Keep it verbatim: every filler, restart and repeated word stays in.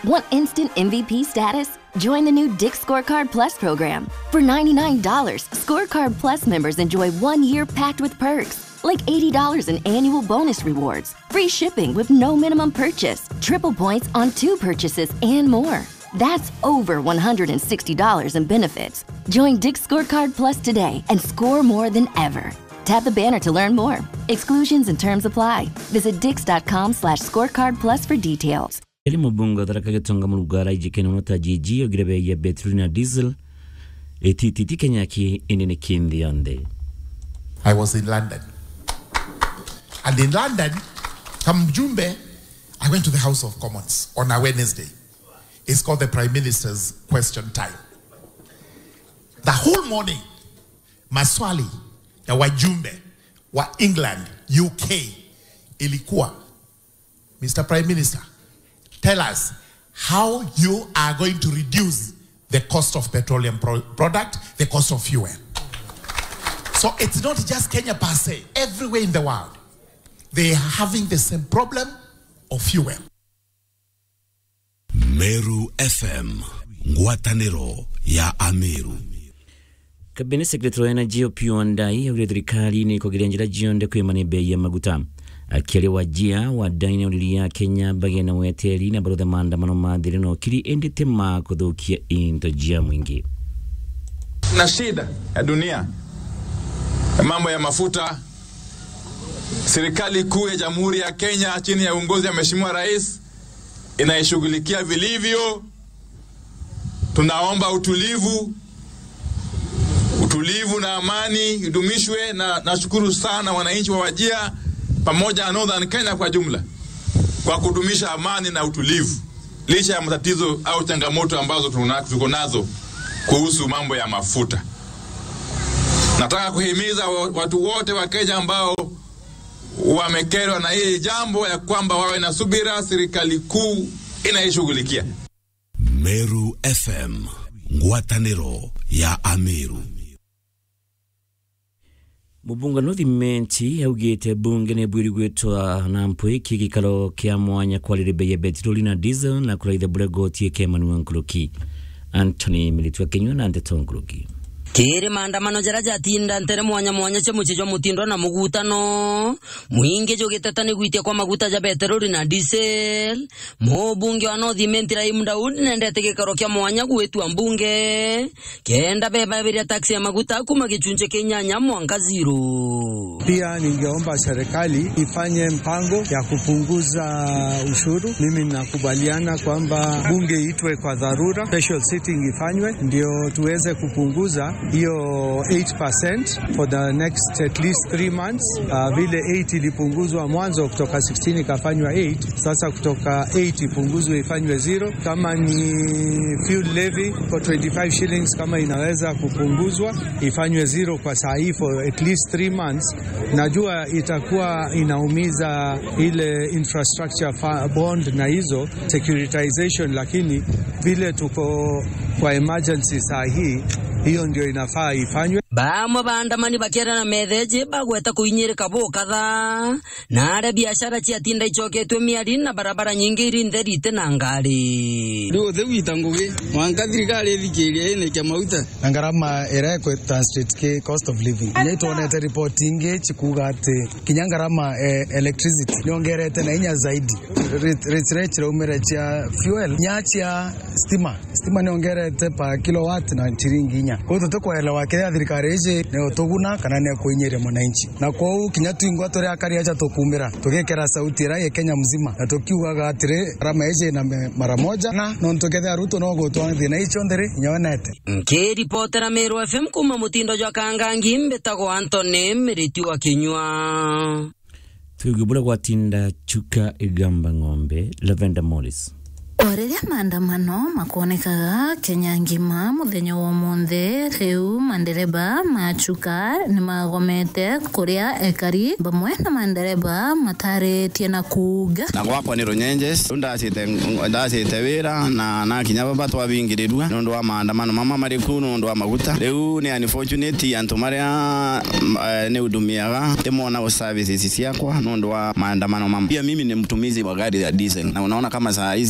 Want instant M V P status? Join the new Dick's Scorecard Plus program. For ninety-nine dollars, Scorecard Plus members enjoy one year packed with perks, like eighty dollars in annual bonus rewards, free shipping with no minimum purchase, triple points on two purchases, and more. That's over one hundred sixty dollars in benefits. Join Dick's Scorecard Plus today and score more than ever. Tap the banner to learn more. Exclusions and terms apply. Visit dicks.com slash scorecard plus for details. Iri mubunge wa Tharaka Gitonga Murunga araijikene mono ta G G augire bei ya petroli na diesel itititi Kenya ki indi ni ki nthi yonthe. I was in London. And in London, kama mjumbe, I went to the House of Commons on a Wednesday. It's called the Prime Minister's Question Time. The whole morning, maswali ya wajumbe wa England, U K, ilikuwa, Mister Prime Minister, tell us how you are going to reduce the cost of petroleum pro-, product, the cost of fuel. So it's not just Kenya per se. Everywhere in the world, they are having the same problem of fuel. Meru F M, ngwataniro ya Ameru. Cabinet Secretary wa Energy Opiyo Wandayi augire thirikari ni ikugeria njira cionthe kwimania bei ya maguta. Akiaria Wajia, Wandayi ni auririe Akenya bagie na weteri na baruthe maandamano ma thiri na ukiri, indi ti ma kuthukia into cia mwingi. Na shida ya dunia ya mambo ya mafuta, serikali kuu ya Jamhuri ya Kenya chini ya uongozi ya Mheshimiwa Rais inaishughulikia vilivyo. Tunaomba utulivu, utulivu na amani idumishwe, na nashukuru sana wananchi wa Wajia pamoja na Northern Kenya kwa jumla kwa kudumisha amani na utulivu licha ya matatizo au changamoto ambazo tuna-, tuko nazo kuhusu mambo ya mafuta. Nataka kuhimiza wa-, watu wote wa Kenya ambao wamekerwa na hili jambo ya kwamba wawe na subira, serikali kuu inaishughulikia. Meru F M, ngwataniro ya Ameru. Mubunge North Imenti augite bunge ni bwiri gwitwa na mpwiki gikaro kia mwanya kwarire bei ya petroli na diesel na kuraitha buria goti ikemanua nkuruki. Anthony Miritu akinyua na ndeto nkuruki. Kiri maandamano jaria jatinda ntere mwanya mwanya cia mucii jwa Mutindwa na Mugutano, mwingi jugiteta ni gwitia kwa maguta ja petroli na diesel, mubunge wa North Imenti Rahim Daud nendete gikaro kia mwanya gwitwa mbunge kenda bebabiria taxi ya maguta kuma gichunji kia inyanya mwanka zero. Pia ningeomba serikali ifanye mpango ya kupunguza ushuru. Mimi nakubaliana kwamba bunge iitwe kwa dharura, special sitting ifanywe ndio tuweze kupunguza hiyo eight percent for the next at least three months. Ah, vile eight ilipunguzwa mwanzo kutoka sixteen ikafanywa eight, sasa kutoka eight ipunguzwe ifanywe zero. Kama ni fuel levy for twenty-five shillings, kama inaweza kupunguzwa ifanywe zero kwa saa hii for at least three months. Najua itakuwa inaumiza ile infrastructure fa-, bond na hizo securitization, lakini vile tuko kwa emergency saa hii, hiyo ndio inafaa ifanywe. Bamwe baandamani bakiarana metheji bagweta kuinyirika bukatha, na aria biashara ciatinda icoketwe miari na barabara nyingi iri ntheri iti na ngari. Riu uthi gwita ngugi, mwanka thirikari ithikirie inikia mauta. Na ngarama iria ikwi translate ki cost of living. Kinya itwonete report ingi cikuuga ati kinya ngarama, eh, electricity niongerete na inya zaidi. Re-, re-, rate iraumire cia fuel, nya cia stima. Stima niongerete per kilowatt na ciringi inya. Kwou tutikuelewa kiria thirikari iji niutuguna kana niikuinyiria mwananchi. Na kwou kinya twingwa turi akari aja tukuumira, tugikira sauti iria i Kenya mzima, na tukiugaga atiri, ngarama iji na me-, mara moja, na nontu kethira Ruto no gutwara thina icio nthiri, inya we nete. Nkiripotera Meru F M kuma Mutindo jwa Kangangi, mbitagwa Anthony Miriti wa Kinyua. Tuigue buria gwatinda Chuka Igamba Ng'ombe, Lavender Morris. O riria maandamano makwonekaga Kenya ngima muthenya wa umuthi, riu mandereba ma Chuka ni magomete kuria ekari bamwe na mandereba mataritie na kuuga. Na gwakwa ni Runyenjes, riu ndacite, ndacite wira na nakinya baba twabingirirua nontu wa maandamano mama mari ku nontu wa maguta. Riu ni unfortunate antu maria, mm, eh, ni hudumiaga, timona services ciakwa nontu wa maandamano mama. Pia mimi ni mtumizi wa gari ya diesel, na unaona kama saa hizi